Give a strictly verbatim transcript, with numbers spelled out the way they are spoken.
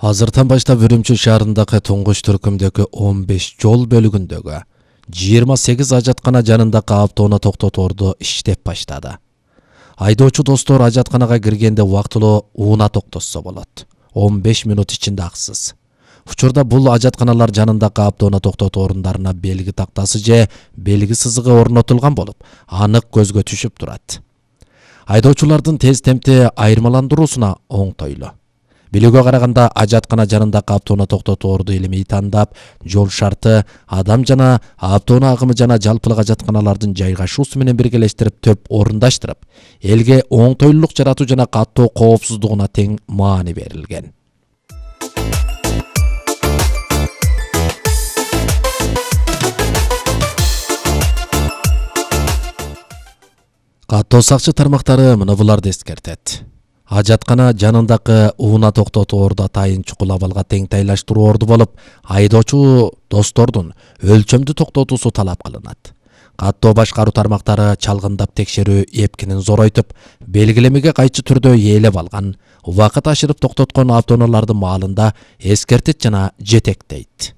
Азыртан баштап Үрүмчү шаарындагы Туңгуч түркүмдөгү он беш жол бөлүгүндөгү жыйырма сегиз ажаткана жанындагы автоону токтоторду иштеп баштады. Айдоочу достор ажатканага киргенде убактылуу ууна токтотсо болот. он беш минут ичинде аксыз. Учурда бул ажатканалар жанындагы автоону токтотуу орундарына белги тактасы же белги сызыгы орнотулган болуп, анык көзгө түшүп турат. Айдоочулардын тез темпте айырмаландыруусуна оңтойлуу. Билүүгө караганда ажаткана жанындагы автоону токтоторду илимий тандап, жол шарты, адам жана автоунаа агымы жана жалпылык ажатканалардын жайгашуусу менен биргелештирип төп орундаштырып, элге оңтойлуулук жаратуу жана каттоо коопсуздугуна тең маани берилген. Каттоо сакчы тармактары мына буларды эскертет. Ажаткана жанындагы ууна токтоторду атайын чукул абалга тең тайлаштыруу орду болуп, айдоочу достордун өлчөмдүү токтотуусу талап кылынат. Каттоо башкаруу тармактары чалгындап текшерүү эпкинин зоройтуп, белгилемеге кайчы түрдө ээлеп алган, убакыт ашырып токтоткон автоунаалардын маалында эскертет жана жетектейт.